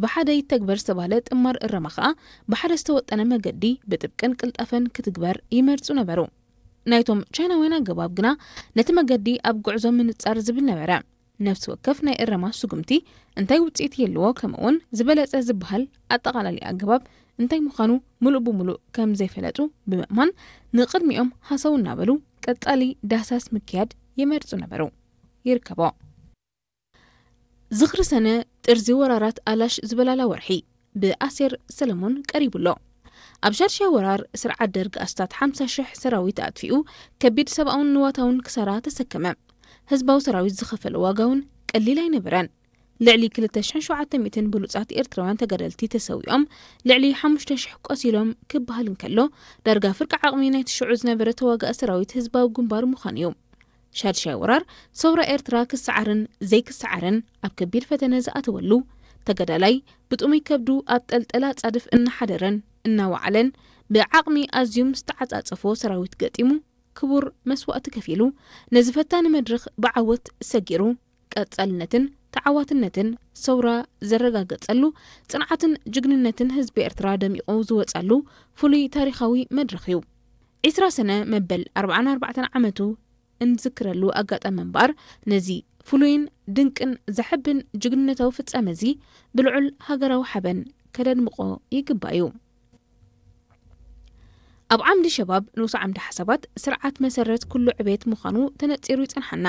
ብሓደ ይተግበር ዝተባህለ ጥማር እረማ ከኣ ብሓደ ዝተወጠነ መገዲ ብጥብቅን ቅልጣፈን ክትግበር ይመርጹ ነበሩ። ናይቶም ቻይናውያን ኣገባብ ግና ነቲ መገዲ ኣብ ጉዕዞ ምንጻር ዝብል ነበረ። ነፍሲ ወከፍ ናይ እረማ ስጉምቲ እንታይ ውጽኢት ይህልዎ፣ ከምኡውን ዝበለጸ ዝበሃል ኣጠቓላሊ ኣገባብ እንታይ ምዃኑ ምሉእ ብምሉእ ከም ዘይፈለጡ ብምእማን፣ ንቕድሚኦም ሃሰው እናበሉ ቀጻሊ ዳህሳስ ምክያድ ይመርጹ ነበሩ። ይርከቦ። ዝኽሪ ሰነ ጥርዚ ወራራት ኣላሽ ዝበላላ ወርሒ ብኣሴር ሰለሞን ቀሪቡ ኣሎ። ኣብ ሻድሻይ ወራር ስርዓት ደርግ ኣስታት ሓምሳ ሽሕ ሰራዊት ኣጥፊኡ ከቢድ ሰብኣውን ንዋታውን ክሳራ ተሰከመ። ህዝባዊ ሰራዊት ዝኸፈሎ ዋጋ እውን ቀሊል ኣይነበረን። ልዕሊ ክልተ ሽሕን ሸውዓተ ሚእትን ብሉጻት ኤርትራውያን ተጋደልቲ ተሰዊኦም፣ ልዕሊ ሓሙሽተ ሽሕ ቆሲሎም ክበሃል እንከሎ፣ ዳርጋ ፍርቂ ዓቕሚ ናይቲ ሽዑ ዝነበረ ተዋጋኢ ሰራዊት ህዝባዊ ግንባር ምዃኑ እዩ። ሻድሻይ ወራር ሰውራ ኤርትራ ክሰዓርን ዘይክሰዓርን ኣብ ከቢድ ፈተነ ዝኣተወሉ፣ ተጋዳላይ ብጥሙይ ከብዱ ኣብ ጠልጠላ ጻድፍ እናሓደረን እናወዓለን ብዓቕሚ ኣዝዩ ምስ ተዓጻጸፎ ሰራዊት ገጢሙ ክቡር መስዋእቲ ከፊሉ፣ ነዚ ፈታኒ መድረኽ ብዓወት ሰጊሩ፣ ቀጻልነትን ተዓዋትነትን ሰውራ ዘረጋገጸሉ፣ ጽንዓትን ጅግንነትን ህዝቢ ኤርትራ ደሚቑ ዝወጻሉ ፍሉይ ታሪኻዊ መድረኽ እዩ። ዒስራ ሰነ መበል ኣርብዓን ኣርባዕተን ዓመቱ እንዝክረሉ ኣጋጣሚ እምበኣር፣ ነዚ ፍሉይን ድንቅን ዘሐብን ጅግንነታዊ ፍጻመ እዚ ብልዑል ሃገራዊ ሓበን ከደድምቖ ይግባእ እዩ። ኣብ ዓምዲ ሸባብ ንኡስ ዓምዲ ሓሳባት ስርዓት መሰረት ኩሉ ዕቤት ምዃኑ ተነጺሩ ይጸንሓና።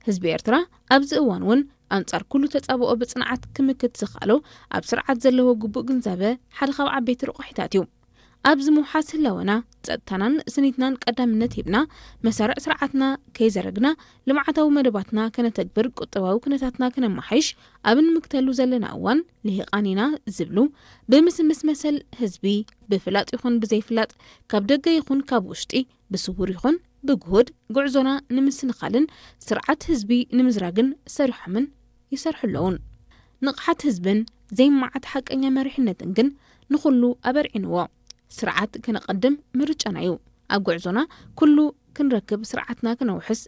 ህዝቢ ኤርትራ ኣብዚ እዋን እውን ኣንጻር ኩሉ ተጻብኦ ብጽንዓት ክምክት ዝኸኣሎ ኣብ ስርዓት ዘለዎ ግቡእ ግንዛበ ሓደ ካብ ዓበይቲ ረቑሒታት እዩ። ኣብዚ ምውሓስ ህላወና፣ ጸጥታናን ስኒትናን ቀዳምነት ሂብና፣ መሳርዕ ስርዓትና ከይዘረግና፣ ልምዓታዊ መደባትና ከነተግብር፣ ቁጠባዊ ኩነታትና ከነመሓይሽ ኣብ እንምክተሉ ዘለና እዋን፣ ልሂቓን ኢና ዝብሉ፣ ብምስምስ መሰል ህዝቢ፣ ብፍላጥ ይኹን ብዘይፍላጥ፣ ካብ ደገ ይኹን ካብ ውሽጢ፣ ብስውር ይኹን ብግሁድ፣ ጉዕዞና ንምስንኻልን ስርዓት ህዝቢ ንምዝራግን ሰሪሖምን ይሰርሑ ኣለዉን። ንቕሓት ህዝብን ዘይመዓት ሓቀኛ መሪሕነትን ግን ንኹሉ ኣበርዒንዎ። ስርዓት ከነቐድም ምርጫና እዩ። ኣብ ጉዕዞና ኩሉ ክንረክብ ስርዓትና ክነውሕስ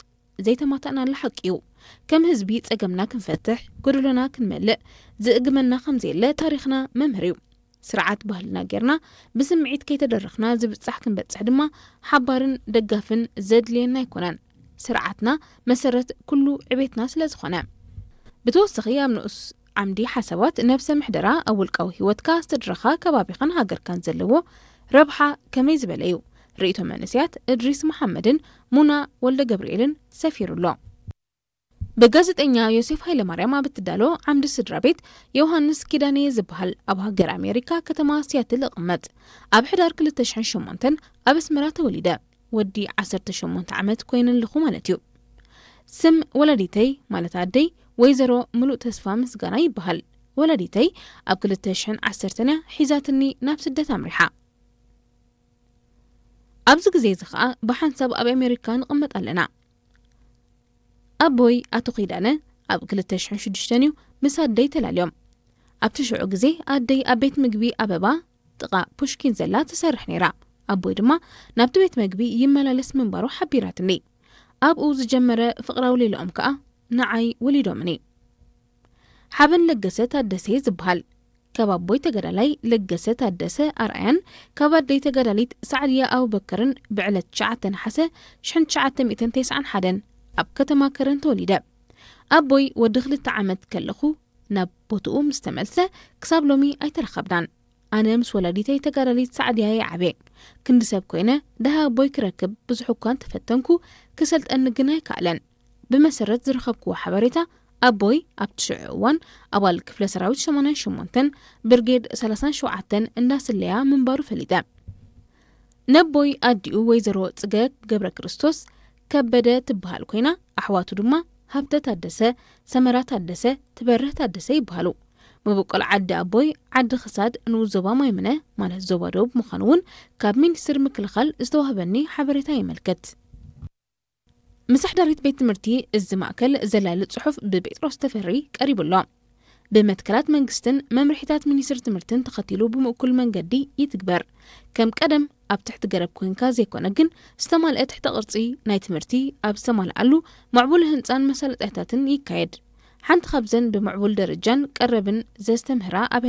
ዘይተማታእናሉ ሓቂ እዩ። ከም ህዝቢ ጸገምና ክንፈትሕ፣ ጎደሎና ክንመልእ ዝእግመና ከም ዘየለ ታሪኽና መምህር እዩ። ስርዓት ባህልና ጌርና ብስምዒት ከይተደረኽና ዝብጻሕ ክንበጽሕ ድማ ሓባርን ደጋፍን ዘድልየና ኣይኮነን። ስርዓትና መሰረት ኩሉ ዕቤትና ስለ ዝኾነ። ብተወሳኺ ኣብ ንኡስ ዓምዲ ሓሳባት ነብሰ ምሕደራ ኣብ ውልቃዊ ህይወትካ፣ ስድራኻ፣ ከባቢኻን ሃገርካን ዘለዎ ረብሓ ከመይ ዝበለ እዩ? ርእይቶ መንእሰያት እድሪስ መሓመድን ሙና ወልደ ገብርኤልን ሰፊሩ ኣሎ። ብጋዜጠኛ ዮሴፍ ሃይለማርያም ኣብ እትዳሎ ዓምዲ ስድራ ቤት ዮሃንስ ኪዳነየ ዝበሃል ኣብ ሃገር ኣሜሪካ ከተማ ሲያትል እቕመጥ። ኣብ ሕዳር ክልተ ሽሕን ሸሞንተን ኣብ ኣስመራ ተወሊደ። ወዲ ዓሰርተ ሸሞንተ ዓመት ኮይነ ኣለኹ ማለት እዩ። ስም ወላዲተይ ማለት ኣደይ ወይዘሮ ምሉእ ተስፋ ምስጋና ይበሃል። ወላዲተይ ኣብ ክልተ ሽሕን ዓሰርተን እያ ሒዛትኒ ናብ ስደት ኣምሪሓ። ኣብዚ ግዜ እዚ ኸኣ ብሓንሳብ ኣብ ኣሜሪካ ንቕመጥ ኣለና። ኣቦይ ኣቶ ኪዳነ ኣብ ክልተ ሽሕን ሽዱሽተን እዩ ምስ ኣደይ ተላልዮም። ኣብቲ ሽዑ ግዜ ኣደይ ኣብ ቤት ምግቢ ኣበባ ጥቓ ፑሽኪን ዘላ ትሰርሕ ነይራ። ኣቦይ ድማ ናብቲ ቤት ምግቢ ይመላለስ ምንባሩ ሓቢራትኒ። ኣብኡ ዝጀመረ ፍቕራዊ ሌላኦም ከኣ ንዓይ ወሊዶምኒ። ሓበን ለገሰ ታደሰ እየ ዝበሃል። ካብ ኣቦይ ተጋዳላይ ለገሰ ታደሰ ኣርኣያን ካብ ኣደይ ተጋዳሊት ሳዕድያ ኣቡበከርን ብዕለት ትሽዓተ ነሓሰ ሽሕን ትሽዓተ ሚእትን ተስዓን ሓደን ኣብ ከተማ ከረን ተወሊደ። ኣቦይ ወዲ ክልተ ዓመት ከለኹ ናብ ቦትኡ ምስ ተመልሰ ክሳብ ሎሚ ኣይተራኸብናን። ኣነ ምስ ወላዲተይ ተጋዳሊት ሳዕድያ እየ ዓብየ። ክንዲ ሰብ ኮይነ ደሃ ኣቦይ ክረክብ ብዙሕ እኳ እንተፈተንኩ ክሰልጠኒ ግን ኣይከኣለን። ብመሰረት ዝረኸብክዎ ሓበሬታ ኣቦይ ኣብቲ ሽዑ እዋን ኣባል ክፍለ ሰራዊት ሸማንያን ሸሞንተን ብርጌድ ሰላሳን ሸውዓተን እንዳስለያ ምንባሩ ፈሊጠ። ነቦይ ኣዲኡ ወይዘሮ ጽገ ገብረ ክርስቶስ ከበደ ትበሃል ኮይና ኣሕዋቱ ድማ ሃብተ ታደሰ፣ ሰመራ ታደሰ፣ ትበርህ ታደሰ ይበሃሉ። መበቆል ዓዲ ኣቦይ ዓዲ ክሳድ ንኡስ ዞባ ማይምነ ማለት ዞባ ደቡብ ምዃኑ እውን ካብ ሚኒስትሪ ምክልኻል ዝተዋህበኒ ሓበሬታ የመልክት። ምሳሕዳሪት ቤት ትምህርቲ እዚ ማእከል ዘላሊ ጽሑፍ ብጴጥሮስ ተፈሪ ቀሪቡ ኣሎ። ብመትከላት መንግስትን መምርሒታት ሚኒስትሪ ትምህርትን ተኸቲሉ ብምእኩል መንገዲ ይትግበር። ከም ቀደም ኣብ ትሕቲ ገረብ ኮንካ ዘይኮነ ግን ዝተማልአ ትሕተ ቅርጺ ናይ ትምህርቲ ኣብ ዝተማልኣሉ ምዕቡል ህንጻን መሳለጥያታትን ይካየድ። ሓንቲ ካብዘን ብምዕቡል ደረጃን ቀረብን ዘስተምህራ ኣብያተ